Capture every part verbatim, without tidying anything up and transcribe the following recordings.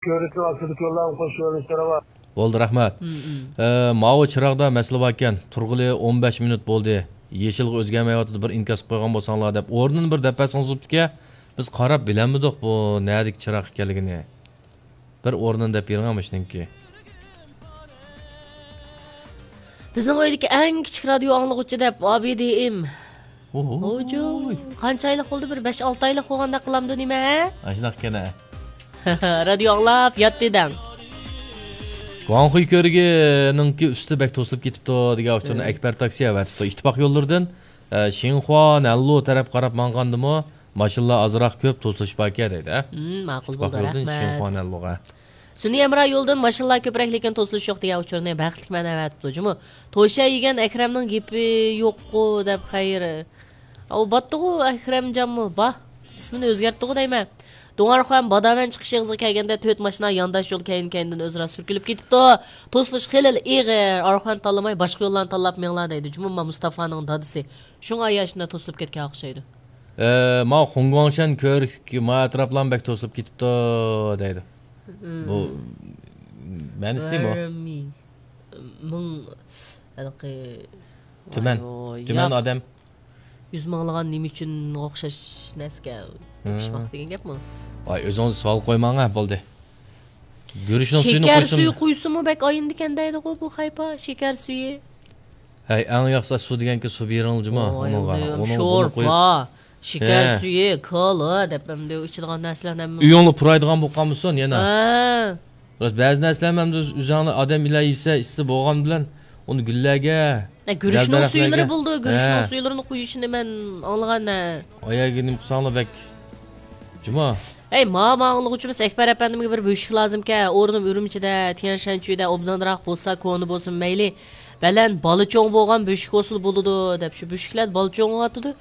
كۆۋرۈكنىڭ ئاستىدىكى يوللارغا قوشۇپ يۈرۈش تەرەپ. بولدى، رەھمەت. ئە، ماۋۇ چىراغدا مەسىلە باركەن، تۇرغىلى ئون بەش مىنۇت بولدى. يېشىلغا ئۆزگەرمەيۋاتىدۇ، بىر ئىنكاس قىلىپ قويغان بولساڭلار دەپ ئورنىنى بىر دەپ بەرسىڭىز بوپتىكەن. بىز قاراپ بىلەلمىدۇق بۇ نەدىكى چىراغ ئىكەنلىكىنى. بىر ئورنىنى دەپ بېرىڭە مۇشۇنىڭكى. بىزنىڭ ئۆيدىكى ئەڭ كىچىك رادىيو ئاڭلىغۇچى دەپ، ئابىدىم. ئوھوي. ھوجۇم، قانچە ئايلىق بولدى؟ بىر بەش-ئالتە ئايلىق بولغاندەك قىلامدۇ نېمە، ھە؟ ئاشۇنداق ئىكەن، ھە. رادىيو ئاڭلاپ ياتتى دەڭ. گۇاڭخۇي كۆۋرۈكىنىڭكى ئۈستى بەك توسۇلۇپ كېتىپتۇ دېگەن ئۇچۇرنى ھە. ئەكبەر تاكسى ئەۋەتىپتۇ. ئىتتىپاق يوللىرىدىن، ئە، شىنخۇا نەنلۇ تەرەپ قاراپ ماڭغاندىمۇ ماشىنىلار ئازراق كۆپ توسۇلۇش باركەن دەيدۇ، ھە؟ ھىم، ماقۇل ئىتتىپاق بولدى، يولىدىن رەھمەت. شىنخۇا نەنلۇغا. سۈنئىي ھەمراھ يولىدىن ماشىنىلار كۆپرەك، لېكىن توسۇلۇش يوق دېگەن ئۇچۇرنى بەختلىك مەن ئەۋەتىپتۇ جۇمۇ. توشا يېگەن ئەكرەمنىڭ گېپى يوققۇ دەپ خەير. ئاۋۇ باتتىغۇ ئەكرەمجانمۇ؟ با. ئىسمىنى ئۆزگەرتتىغۇ دەيمەن. دۇڭئارخۇەن باداۋەن چىقىش ئېغىزىغا كەلگەندە تۆت ماشىنا يانداش يول كەينى-كەينىدىن ئۆزئارا سۈركىلىپ كېتىپتۇ. توسۇلۇش خېلىلا ئېغىر. ئارخۇەن تاللىماي باشقا يوللارنى تاللاپ مېڭىلا دەيدۇ جۇمۇ، ما مۇستافانىڭ دادىسى. شۇڭا ياشىنا توسۇلۇپ كەتكەن ئوخشايدۇ. ئە، ماۋۇ خۇڭگۇاڭشەن كۆۋرۈك، ما ئەتراپلارمۇ بەك توسۇلۇپ كېتىپتۇ دەيدۇ. بۇ مەنىسى نېمە؟ بىر مىڭ، مىڭ، ھېلىقى، تۈمەن. ۋاي، تۈمەن ياق. ئادەم. يۈز مىڭلىغان نېمە ئۈچۈن ئوخشاش نەرسىگە تېپىشماق دېگەن گەپمۇ؟ ۋاي، ئۆزىڭىز سوئال قويماڭ، ھە، بولدى. گۈرۈچنىڭ سۈيىنى شېكەر قويسىمۇ؟ سۈيى قۇيسىمۇ بەك ئاينىدىكەن دەيدىغۇ بۇ خەيپا، شېكەر سۈيى. ھەي، ئەڭ ياخشىسى سۇ دېگەن سۇ بېرىڭلار جۇمۇ، ئۇنىڭغا. ئۇنىڭ، ئۇنىڭ، ئۇنى قويۇپ. شورپا، شېكەر سۈيى، كالا دەپ ئەمدى ئىچىدىغان نەرسىلەرنى ھەممە. ئۆيۈڭلار پۇرايدىغان بولۇپ قالمىسۇن يەنە. ھە. راست، بەزى نەرسىلەرنى ئەمدى ئۆزۈڭلار ئادەم ئىلە يېسە، ئىسسىق بولغان بىلەن ئۇنى گۈللەرگە، ھە، گۈرۈچنىڭ سۈيلىرى بولىدۇ، گۈرۈچنىڭ سۈيلىرىنى قۇيۇشىنى مەن ئاڭلىغان، ھە. ئاياغىغا نېمە قىلساڭلار بەك جۇمۇ. ھەي، ما، ما ئاڭلىغۇچىمىز ئەكبەر ئەپەندىمگە بىر بۆشۈك لازىمكەن، ئورنۇم ئۈرۈمچىدە، تيەنشەنچۈيدە ئوبدانراق بولسا، كونا بولسۇن مەيلى، بەلەن بالا چوڭ بولغان بۆشۈك بولسىلا بولىدۇ، دەپ شۇ بۆشۈكلەر بالا چوڭىياتىدۇ.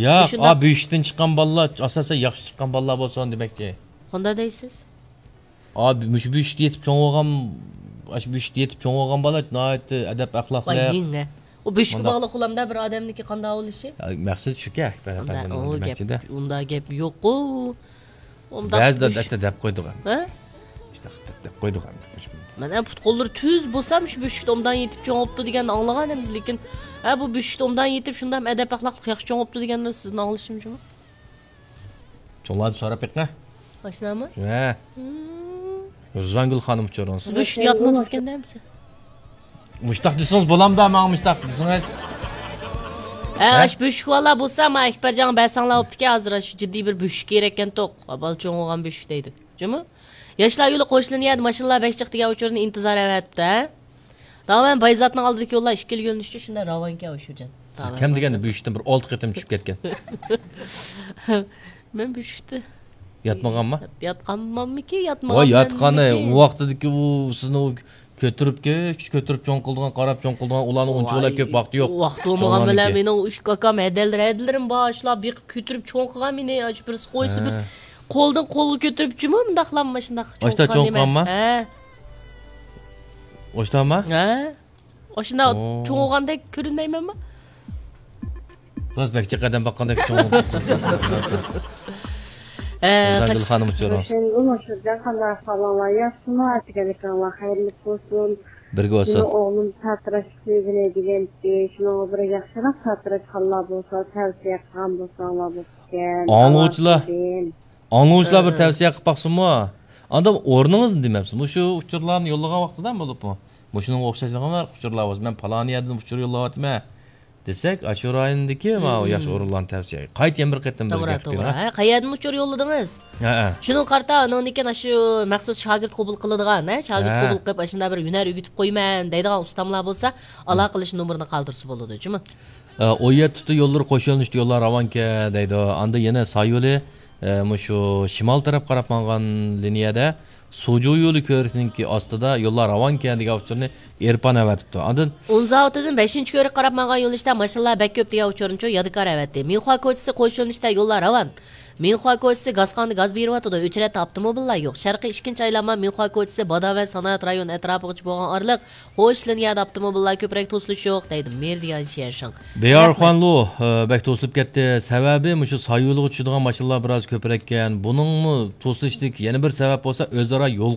ياق، شۇنداق. ئا، بۆشۈكتىن چىققان بالىلار، ئاساسەن ياخشى چىققان بالىلار بولسۇن دېمەكچى. قانداق دەيسىز؟ ئا، مۇشۇ بۆشۈكتە يېتىپ چوڭ بولغان، ئاشۇ بۆشۈكتە يېتىپ چوڭ بولغان بالا ناھايىتى ئەدەپ ئەخلاقلىق. ۋاي، ھىڭ، ھە. ئۇ بۆشۈككە باغلىق غۇلامدا بىر ئادەمنىڭكى قانداق بولۇشى؟ يا، مەقسەت شۇكەن، ئەكبەر ئەپەندىمنىڭ دېمەكچىدە. ئۇنداق گەپ يوققۇ. ئۇنداق بەزىلەر بۆشۈك. ھەتتا دەپ قويىدىغان. ھە؟ ئىشتە دەپ قويىدىغان. مەن، ھە، پۇت-قوللىرى تۈز بولسام شۇ بۆشۈكتە ئوبدان يېتىپ چوڭ بوپتۇ دېگەننى ئاڭلىغان ئەمدى، لېكىن، ھە، بۇ بۆشۈكتە ئوبدان يېتىپ شۇنداق ئەدەپ ئەخلاقلىق ياخشى چوڭ بوپتۇ دېگەننى سىزدىن ئاڭلىشىم جۇمۇ. چوڭلاردىن سوراپ بېقىڭ. ئاشۇنداقمۇ؟ ھە. رىزۋانگۈل خانىم ئۇچۇرىڭىز. سىز بۆشۈكتە ياتمامسىكەن دەمسە؟ مۇشتاق دېسىڭىز بولامدا، ماڭا مۇشتاق دېسىڭىز. ھە، ھە؟ ئاشۇ بۆشۈك بالىلار بولسا، ما ئەكبەرجانغا بەرسەڭلار بوپتىكەن، ھازىر ئاشۇ جىددىي بىر بۆشۈك كېرەككەنتۇق. بالا چوڭ بولغان بۆشۈك دەيدۇ. جۇمۇ؟ ياشلار يولى قوشۇلىنى يەردە ماشىنىلار بەك جىق دېگەن ئۇچۇرنى ئىنتىزار ئەۋەتىپتۇ، ھە؟ داۋان بايزاتنىڭ ئالدىدىكى يوللار ئىككىلا يۆنىلىشتە شۇنداق راۋانكەن ئۇ شۇجان. سىز كەم دېگەندە بۆشۈكتىن بىر ئالتە قېتىم چۈشۈپ كەتكەن. مەن بۆشۈكتە ياتمىغانما؟ يات-، ياتقانماممىكى، ۋاي، ياتمىغانمەنمىكى؟ ياتقانى، ئۇ ۋاقتىدىكى ئۇ سىزنى ئۇ كۆتۈرۈپ، كۆتۈرۈپ چوڭ قىلىدىغان، قاراپ چوڭ قىلىدىغان، ئۇلارنىڭ ئۇنچىۋالا كۆپ ۋاقتى يوق. ۋاقتى بولمىغان بىلەن چوڭلارنىڭكى. مېنىڭ ئۈچ كاكام ھەدەلىرى، ھەدىلىرىم بار، شۇلار بېقىپ كۆتۈرۈپ چوڭ قىلغان مېنى، ئاشۇ بىرسى قويسا، ھە. بىرسى قولدىن قولغا كۆتۈرۈپ جۇمۇ مۇنداقلام ماشۇنداق چوڭ قىلغان نېمە؟ ئاشتا چوڭ قىلغانما؟ ھە. ئاشتاما؟ ھە. ئاشۇنداق چوڭ بولغاندەك كۆرۈنمەيمەنمۇ؟ راست بەك جىق ئادەم باققاندەك چوڭ. ھە، رىزۋانگۈل خانىم ئۇچۇرىڭىز. ھۈسەيىنگۈل مۇشۇرجان، قانداق ئەھۋالىڭلار؟ ياخشىمۇ؟ ئەتىگەنلىكىڭلار خەيرلىك بولسۇن. بىرگە بولسۇن. مېنىڭ ئوغلۇم ساتىراشقا سۆيگىنى دېگەنتى، شۇنىڭغا بىر ياخشىراق ساتىراشخانلار بولسا، تەۋسىيە قىلغان بولساڭلار بولىدىكەن. ئاڭلىغۇچىلار، ئاڭلىغۇچىلار بىر تەۋسىيە قىلىپ باقسۇنمۇ؟ ئاندىن ئورنىڭىزنى دېمەپسىز. مۇشۇ ئۇچۇرلارنى يوللىغان ۋاقتىدا بولۇپمۇ، مۇشۇنىڭغا ئوخشاش نېمە ئۇچۇرلار بولسا، مەن پالان يەردىن ئۇچۇر يوللاۋاتىمەن دېسەك، ئاشۇ رايوندىكى ماۋۇ ياخشى ئورۇنلارنى تەۋسىيە. قايتا يەنە بىر قېتىم بىر توغرا، گەپ قىلىڭ. توغرا. ھە، قەيەردىن ئۇچۇر يوللىدىڭىز؟ ھە، ھە. شۇنىڭغا قارىتا، ئانىڭدىن كېيىن ئاشۇ مەخسۇس شاگىرت قوبۇل قىلىدىغان، ھە، شاگىرت قوبۇل قىلىپ، ئاشۇنداق بىر ھۈنەر ئۆگىتىپ قويىمەن دەيدىغان ئۇستاملار بولسا، ئالاقە قىلىش نومۇرىنى قالدۇرسا بولىدۇ، جۇمۇ. ئە، ئون يەتتە يوللىرى قوش يۆنىلىشتە يوللار راۋانكەن دەيدۇ. ئاندا يەنە ساي يولى، ئە، مۇشۇ شىمال تەرەپ قاراپ ماڭغان لىنىيەدە سۇجۇ يولى كۆۋرۈكنىڭكى ئاستىدا يوللار راۋانكەن دېگەن ئۇچۇرنى ئېرپان ئەۋەتىپتۇ. ئاندىن ئۇنزاۋۇتىدىن بەشىنچى كۆۋرۈككە قاراپ ماڭغان يۆنىلىشتە ماشىنىلار بەك كۆپ دېگەن ئۇچۇرنىچۇ يادىكار ئەۋەتتى. مىخۇا كوچىسى قوش يۆنىلىشتە يوللار راۋان. مىنخۇا كوچىسى گازخانىدا گاز بېرىۋاتىدۇ، ئۆچرەتتە ئاپتوموبىللار يوق. شەرقىي ئىككىنچى ئايلانما مىنخۇا كوچىسى، باداۋەن سانائەت رايونى ئەتراپىغىچە بولغان ئارىلىق خوش لىنىيەدە ئاپتوموبىللار كۆپرەك توسۇلۇشى يوق، دەيدۇ مېر دىيان شيەنشىڭ. بىيار رەھمەت. خوانلۇ، ئە، بەك توسۇلۇپ كەتتى. سەۋەبى مۇشۇ سايۋىلىغا چۈشىدىغان ماشىنىلار بىراز كۆپرەككەن. بۇنىڭمۇ توسۇلۇشتىكى يەنە بىر سەۋەب بولسا ئۆزئارا يول